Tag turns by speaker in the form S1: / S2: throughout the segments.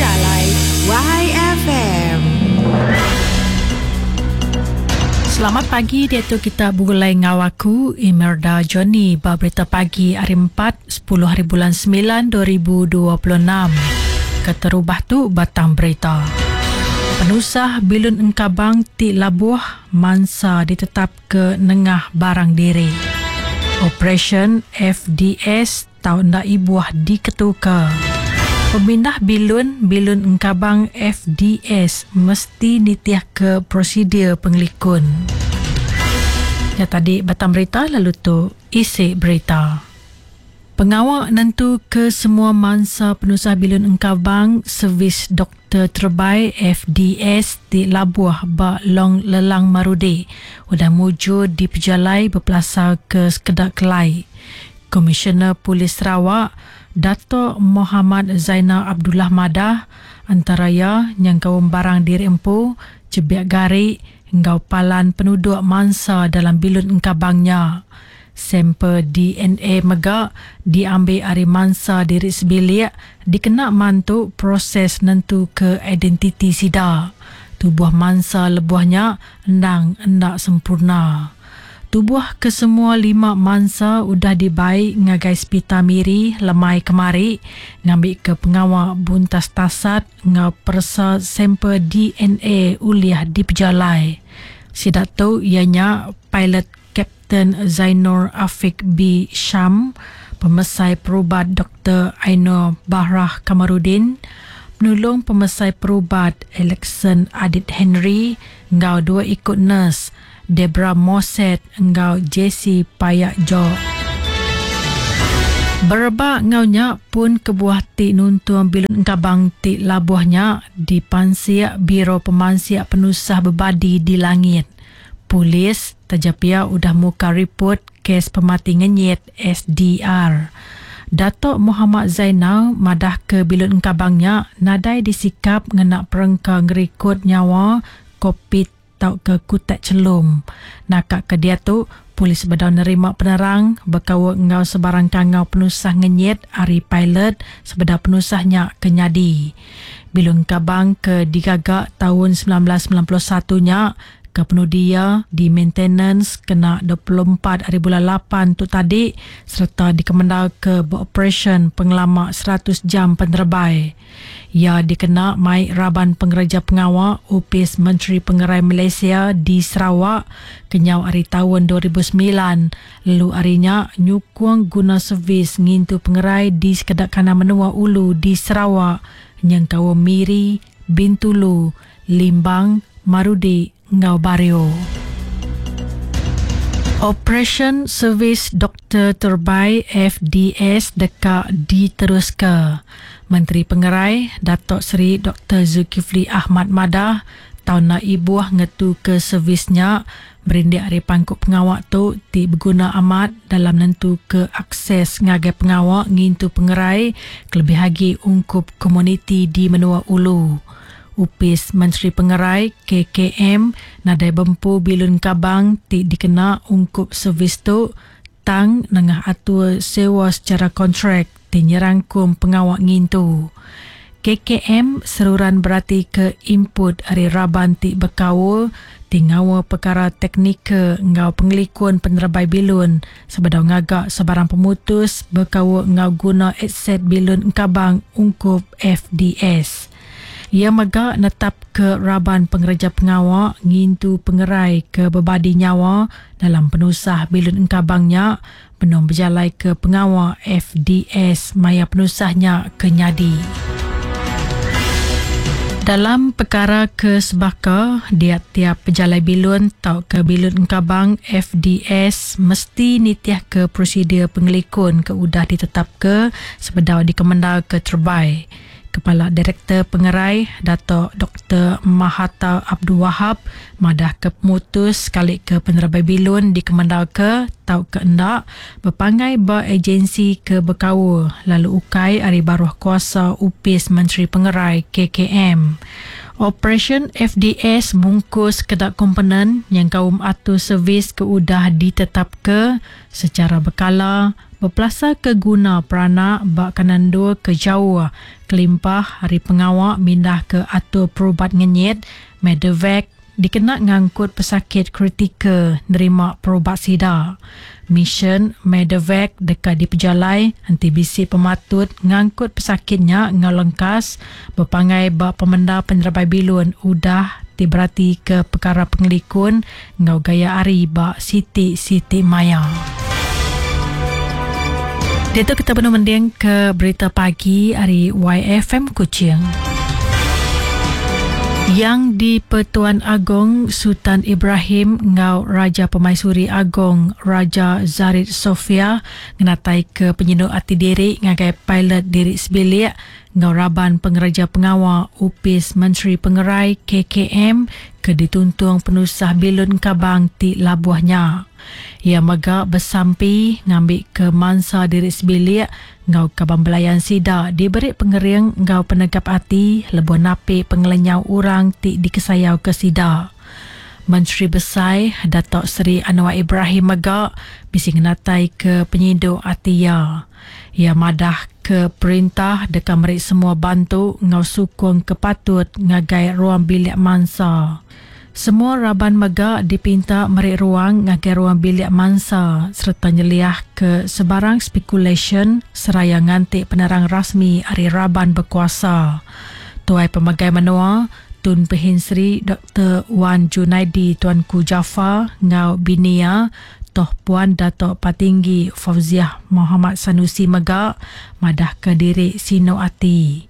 S1: Jalai YFM.
S2: Selamat pagi diatu kita begulai enggau aku Imelda Johnny ba berita pagi hari 4 10 hari bulan 9 2026. Keterubah tu batang berita. Penusah bilun engkabang ti labuh mansa ditetap ke nengah barang diri. Operasyen FDS tau enda ibuh diketuka. Pemindah bilun bilun engkabang FDS mesti nitihka prosedur pengelikun. Nya tadi batang berita lalu tu isi berita. Pengawa nentuka semua mansa penusah bilun engkabang servis doktor terebai FDS ti labuh ba Long Lelang Marudi udah mujur dipejalai bepelasarka sekeda kelai. Komisioner Polis Sarawak, Datuk Mohamad Zainal Abdullah madah, antara iya nyengkaum barang diri empu, chebik gari enggau palan penuduk mansa dalam bilun engkabang nya. Sampel DNA mega diambi ari mansa diri sebilik dikena mantu proses nentuka identiti sida. Tubuh mansa lebuh nya endang enda sempurna. Tubuh kesemua lima mansa udah dibai ngagai Sepital Miri lemai kemari ngambika pengawa buntas tasat enggau peresa sampel DNA ulih dipejalai. Sida tu iya nya pilot Kapten Zainur Afiq B. Sham, Pemesai Perubat Doktor Ainur Bahrah Kamarudin, Penulung Pemesai Perubat Alexson Adit Henry enggau dua iku nurse, Debra Moset enggau Jessie Payak Jok. Berebak enggau nya, pun kebuah ti nuntung bilun engkabang ti labuh nya dipansik Biro Pemansik Penusah Bebadi di Langit. Polis taja pia udah muka riput kes pemati ngenyit SDR. Datuk Mohamad Zainal madahka bilun engkabang nya nadai disikap ngena perengka ngerikod nyawa kokpit tauka kutak chelum. Naka ke diatu, polis bedau nerima penerang bekaul enggau sebarang kangau penusah ngenyit ari pilot sebedau penusah nya ke nyadi. Bilun engkabang ke digaga taun 1991 nya ke penudi iya di maintenance kena 24 ari bulan lapan tu tadi sereta dikemendarka beoperasyen pengelama 100 jam penerebai. Iya dikena mai raban pengereja pengawa Opis Menteri Pengerai Malaysia di Sarawak kenyau ari taun 2009 lalu ari nya nyukung guna servis ngintu pengerai di sekeda kandang menua ulu di Sarawak nyengkaum Miri, Bintulu, Limbang, Marudi enggau Bario. Operasyen Servis Doktor Terbai FDS deka diteruska. Menteri Pengerai, Datuk Seri Doktor Zulkifli Ahmad madah, taun enda ibuh ngetuka servis nya berindik ari pangku pengawa tu ti beguna amat dalam nentuka akses ngagai pengawa ngintu pengerai kelebih agi ungkup komuniti di menua ulu. Opis Menteri Pengerai, KKM, nadai bempu bilun kabang ti dikena ungkup servis tu tang nengah atur sewa sechara kontrak ti nyerangkum pengawa ngintu. KKM seruran beratika input ari raban ti bekaul ti ngaul pekara teknikal enggau pengelikun penerebai bilun sebedau ngaga sebarang pemutus bekaul enggau guna aset bilun engkabang ungkup FDS. Iya mega netapka raban pengereja pengawa ngintu pengerai ke bebadi nyawa dalam penusah bilun engkabang nya benung bejalaika pengawa FDS maya penusah nya ke nyadi. Dalam pekara ke sebaka, dia tiap pejalai bilun tauka bilun engkabang FDS mesti nitihka prosedur pengelikun ke udah ditetapka sebedau dikemendarka terebai. Kepala Direktor Pengerai, Datuk Doktor Mahathar Abdul Wahab madahka pemutus sekalika penerebai bilun dikemendarka tauka enda bepanggai ba ejensi ke bekaul lalu ukai ari baruh kuasa Opis Menteri Pengerai, KKM. Operasyen FDS mungkus sekeda komponen nyengkaum atur servis ke udah ditetapka sechara bekala, bepelasar ke guna peranak ba kandang endur ke jauh kelimpah ari pengawa mindahka atur perubat ngenyit, Medevac, dikena ngangkut pesakit kritikal nerima perubat sida. Misyen Medevac deka dipejalai enti bisi pematut ngangkut pesakit nya enggau lengkas bepanggai ba pemendar penerebai bilun udah ti beratika pekara pengelikun enggau gaya hari ba siti-siti maya. Diatu kita benung mendingka berita pagi ari YFM Kuching. Yang di-Pertuan Agong Sultan Ibrahim enggau Raja Permaisuri Agong Raja Zarid Sofia ngenataika penyinu ati diri ngagai pilot diri sebilik enggau raban pengereja pengawa Opis Menteri Pengerai, KKM, ke dituntung penusah bilun engkabang ti labuh nya. Iya mega besampi ngambika mansa diri sebilik enggau kaban belayan sida diberi pengering enggau penegap ati lebuh napi pengelenyau orang ti dikesayauka sida. Menteri Besai Datuk Seri Anwar Ibrahim mega bisi ngenataika penyidu ati iya. Iya madah ke perintah deka meri semua bantu enggau sukung ke patut ngagai ruang bilik mansa. Semua raban mega dipinta meri ruang ngagai ruang bilik mansa sereta nyeliahka sebarang spekulasyen seraya nganti penerang rasmi ari raban bekuasa. Tuai Pemegai Menua, Tun Pehin Sri Doktor Wan Junaidi Tuanku Jaafar enggau bini iya, Toh Puan Datuk Patinggi Fauziah Mohamad Sanusi mega madahka diri sinu ati.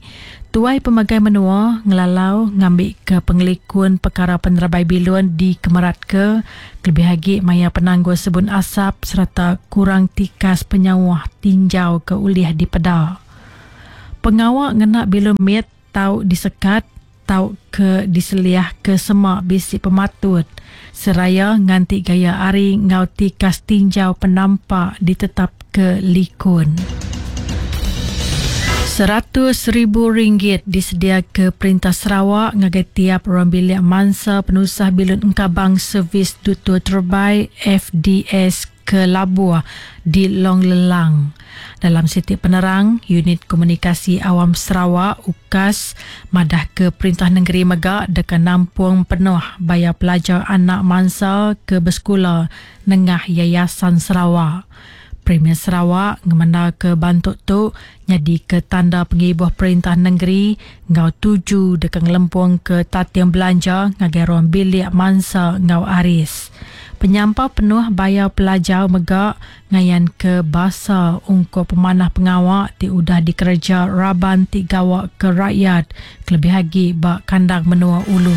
S2: Tuai Pemegai Menua ngelalau ngambika pengelikun pekara penerebai bilun dikemeratka kelebih agi maya penanggul sebun asap sereta kurang tikas penyauh tinjau ke ulih dipeda. Pengawa ngena bilun mit tau disekat tauka diseliahka sema bisi pematut seraya nganti gaya hari enggau tikas tinjau penampak ditetapka likun. 100,000 ringgit disediaka Perintah Sarawak ngagai tiap ruang bilik mansa penusah bilun engkabang Servis Dutur Terebai, FDS, ke labuh di Long Lellang. Dalam siti penerang, Unit Komunikasi Awam Sarawak, UKAS, madahka perintah nengeri mega deka nampung penuh bayar pelajar anak mansa ke besekula nengah Yayasan Sarawak. Premier Sarawak ngemendarka bantu tu nyadika tanda pengibuh perintah nengeri enggau tuju deka ngelempungka tating belanja ngagai ruang bilik mansa enggau aris. Penyampau penuh bayar pelajar mega ngayanka basa ungkup pemanah pengawa ti udah dikereja raban ti gawa ke rakyat kelebih agi ba kandang menua ulu.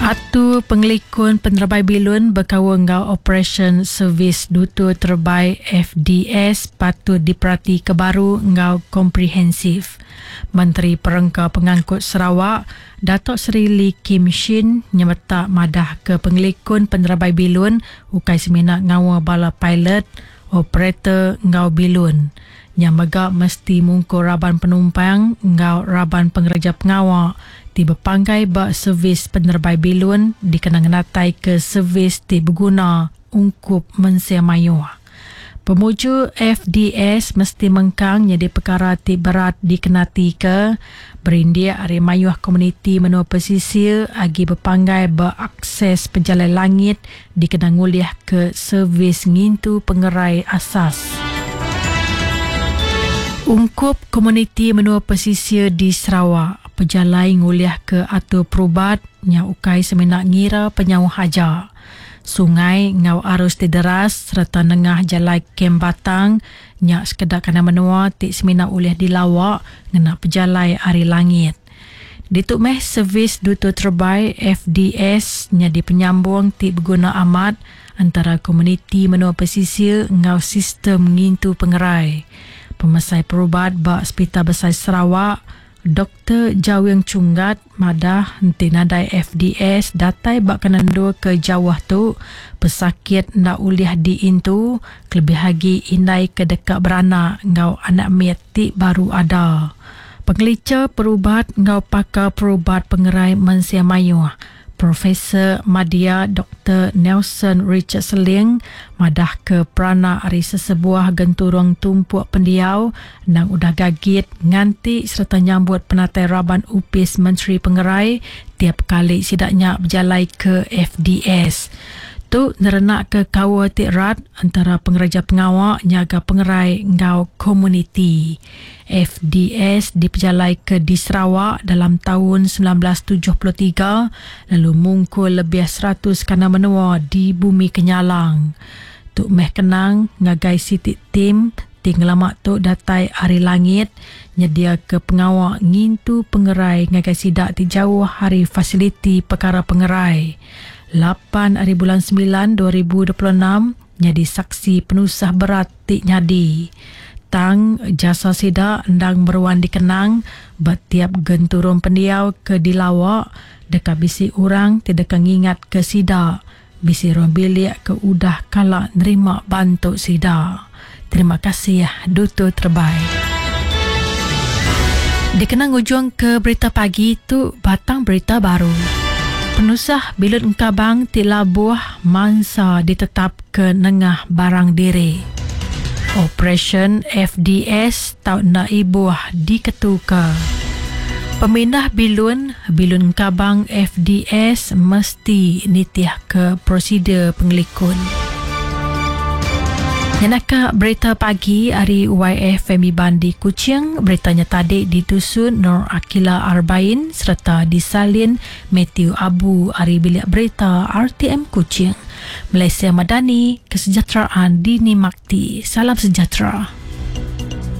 S2: Atur Pengelikun Penerebai Bilun bekaul enggau Operasyen Servis Dutur Terebai, FDS, patut diperatika baru enggau komprehensif. Menteri Perengka Pengangkut Sarawak, Datuk Seri Lee Kim Shin nyemetak madahka pengelikun penerebai bilun ukai semina ngaul bala pilot, operator enggau bilun. Nya mega mesti mungkur raban penumpang enggau raban pengereja pengawa ti bepanggai ba servis penerebai bilun dikena ngenataika servis ti beguna ungkup mensia mayuh. Pemujur FDS mesti mengkang nyadi pekara ti berat dikenatika berindik ari mayuh komuniti menua pesisir agi bepanggai ba akses pejalai langit dikena ngulihka servis ngintu pengerai asas. Ungkup komuniti menua pesisir di Sarawak, pejalai ngulihka atur perubat nya ukai semina ngira penyauh aja. Sungai enggau arus ti deras sereta nengah jalai Kem Batang nya sekeda kandang menua ti semina ulih dilawa ngena pejalai ari langit. Ditu meh servis Duta Terebai, FDS, nyadi penyambung ti beguna amat entara komuniti menua pesisir enggau sistem ngintu pengerai. Pemesai Perubat ba Sepital Besai Sarawak, Doktor Jawing Chunggat madah enti nadai FDS datai ba kandang endur ke jauh tu, pesakit enda ulih diintu kelebih agi indai ke deka beranak enggau anak mit ti baru ada. Pengelicha perubat enggau pakar perubat pengerai mensia mayuh. Profesor Madya Doktor Nelson Richard Seling madahka peranak ari sesebuah genturung tumpuk pendiau endang udah gagit nganti sereta nyambut penatai raban Opis Menteri Pengerai tiap kali sida nya bejalai ke FDS. Tu nerenakka kaul ti rat entara pengereja pengawa nyaga pengerai enggau komuniti. FDS dipejalaika di Sarawak dalam taun 1973 lalu mungkur lebih 100 kandang menua di Bumi Kenyalang. Tu meh kenang ngagai siti tim ti ngelama tu datai ari langit nyediaka pengawa ngintu pengerai ngagai sida ti jauh ari fasiliti pekara pengerai. Lapan ari bulan semilan 2026 nyadi saksi penusah berat ti nyadi. Tang jasa sida endang meruan dikenang ba tiap genturung pendiau ke dilawa deka bisi orang ti deka ngingatka sida bisi ruang bilik ke udah kala nerima bantu sida. Terima kasih Dutu Terbai. Dikena ngujungka berita pagi tu batang berita baru. Penusah bilut engkabang ti labuh mansa ditetapka nengah barang diri. Operasyen FDS tau enda ibuh diketuka. Pemindah bilun, bilun engkabang FDS mesti nitihka prosedur pengelikun. Nyenaka berita pagi ari YFM Iban di Kuching, berita nya tadi ditusun Nur Akila Arbain sereta disalin Matthew Abu ari Bilik Berita RTM Kuching. Malaysia Madani, kesejahteraan dinimakti. Salam sejahtera.